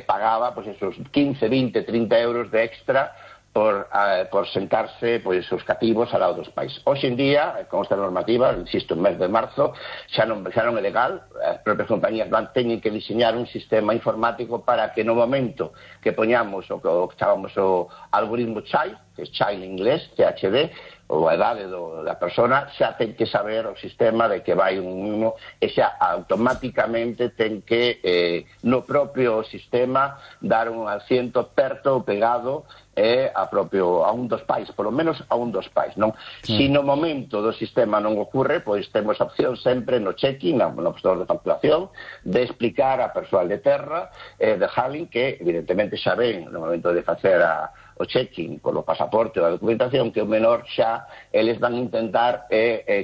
pagaba pues esos 15, 20, 30 euros de extra por sentarse pois os cativos ao lado dos pais. Hoxe en día, con esta normativa, insisto, en mes de marzo, xa non é legal, as propias compañías teñen que diseñar un sistema informático para que no momento que poñamos o que chamamos o algoritmo child, que é child en inglés, CHD, ou a idade da persona, xa ten que saber o sistema de que vai un e xa automáticamente ten que no propio sistema dar un asiento perto ou pegado a un dos pais, polo menos a un dos pais, non? Si no momento do sistema non ocorre, pois temos a opción sempre no check-in, no postor de facturación, de explicar a persoal de terra, de handling, que evidentemente xa ven no momento de facer o check-in polo pasaporte ou a documentación que o menor xa eles van a intentar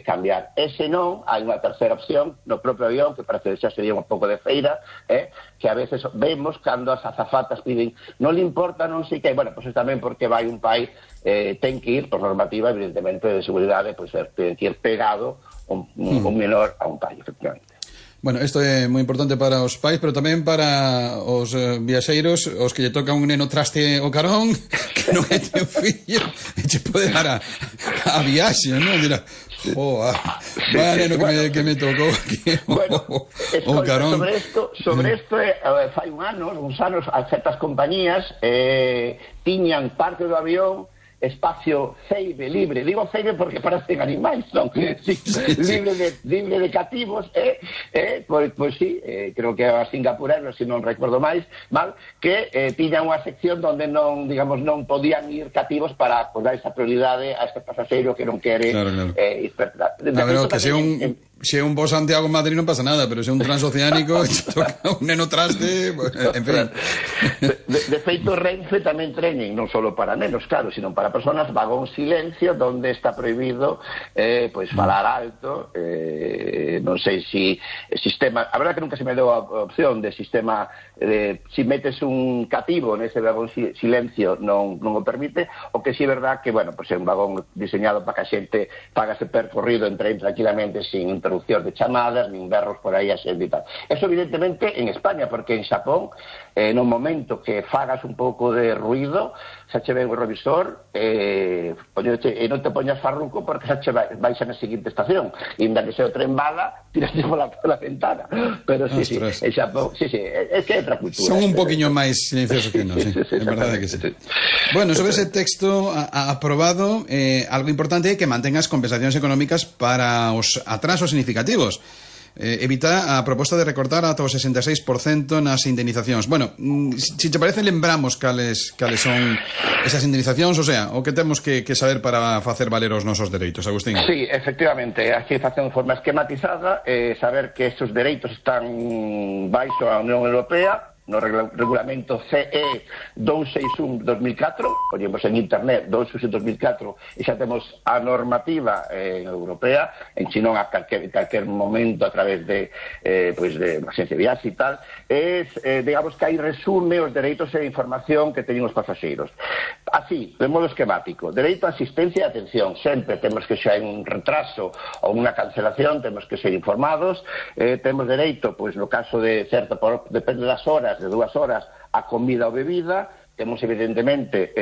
cambiar. E se non, hai unha terceira opción no propio avión, que parece que xa sería un pouco de feira, que a veces vemos cando as azafatas piden non le importa, non sei que, bueno, pois tamén porque vai un pai ten que ir, por normativa, evidentemente, de seguridade, pois ten que ir pegado un menor a un pai, efectivamente. Bueno, isto é moi importante para os pais, pero tamén para os viaxeiros, os que lle toca un neno traste o carón, que non é teu fillo, e che pode dar a viaxe, non? Dirá, vaya neno que me tocou aquí o carón. Sobre isto, fai uns anos, certas compañías tiñan parte do avión espacio ceibe, libre, digo ceibe porque parecen animais, non? Libre de cativos, pois sí, creo que a singapureros, se non recordo mal, que tiñan unha sección onde non, digamos, non podían ir cativos para dar esa prioridade a este pasaxeiro que non quere ir. A ver, que se é un bo Santiago Madrid non pasa nada, pero se é un transoceánico toca un neno traste, en fin. De feito, Renfe tamén treñen non só para nenos, claro, sino para personas vagón silencio, donde está prohibido pois falar alto, non sei si sistema, a verdad que nunca se me deu a opción de sistema si metes un cativo nese vagón silencio non o permite, o que si é verdad que, bueno, pois é un vagón diseñado para que a xente pagase percorrido entre tranquilamente sin interrupción de chamadas, nin berros por aí a xente e tal. Eso evidentemente en España, porque en Xapón no momento que fagas un pouco de ruido, xa che ven o revisor e non te poñas farruco porque xa che vais na seguinte estación, e inda que se o tren bala, tiraste pola ventana. Pero sí, en Xapón, é que é outra cultura. Son un poquinho máis silenciosos que nós, é verdade que sí. Bueno, sobre ese texto aprobado, algo importante é que mantenga as compensacións económicas para os atrasos significativos. Evita a proposta de recortar ata o 66% nas indemnizacións. Bueno, se te parece, lembramos cales son esas indemnizacións, o sea, o que temos que saber para facer valer os nosos dereitos, Agustín. Sí, efectivamente, hai que facer de forma esquematizada, saber que estes dereitos están baixo a Unión Europea, no regulamento CE 261-2004, poñemos en internet 261-2004 e xa temos a normativa europea, en chinón a calquer momento a través de de agencia de viaxe e tal, digamos que aí resume os dereitos e información que teñen os pasaxeiros. Así, de modo esquemático, dereito a asistencia e atención, sempre temos que xa hai un retraso ou unha cancelación, temos que ser informados, temos dereito, pois no caso de certo, depende das horas, de 2 horas, a comida ou bebida, temos evidentemente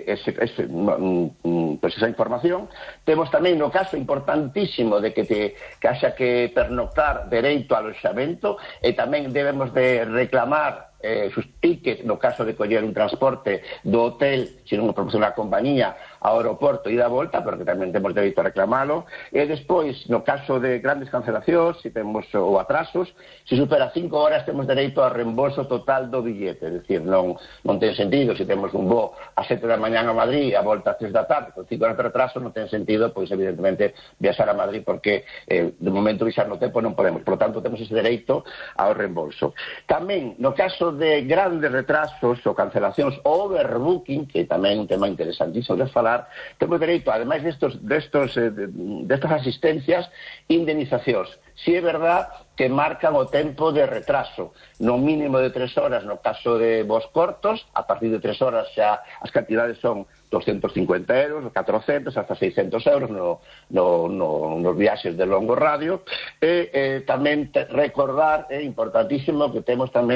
esa información. Temos tamén no caso importantísimo de que haxa que pernoctar dereito ao aloxamento, e tamén debemos de reclamar sus tickets no caso de coller un transporte do hotel, se non o proporciona a compañía, ao aeroporto e da volta, porque tamén temos dereito a reclamalo. E despois, no caso de grandes cancelacións, se temos ou atrasos, se supera 5 horas temos dereito a reembolso total do billete, é dicir, non ten sentido, se temos un voo a 7 da mañá a Madrid a volta a 3 da tarde, con 5 horas de retraso, non ten sentido, pois evidentemente viaxar a Madrid, porque de momento viaxar no tempo non podemos, por lo tanto temos ese dereito ao reembolso. Tamén, no caso de grandes retrasos ou cancelacións ou overbooking, que tamén é un tema interesantísimo de falar, temos dereito, ademais destas asistencias, indemnizacións. Si é verdad que marcan o tempo de retraso. No mínimo de 3 horas no caso de voos cortos, a partir de 3 horas xa as cantidades son 250 euros, 400, hasta 600 euros nos viaxes de longo radio. E tamén recordar, é importantísimo que temos tamén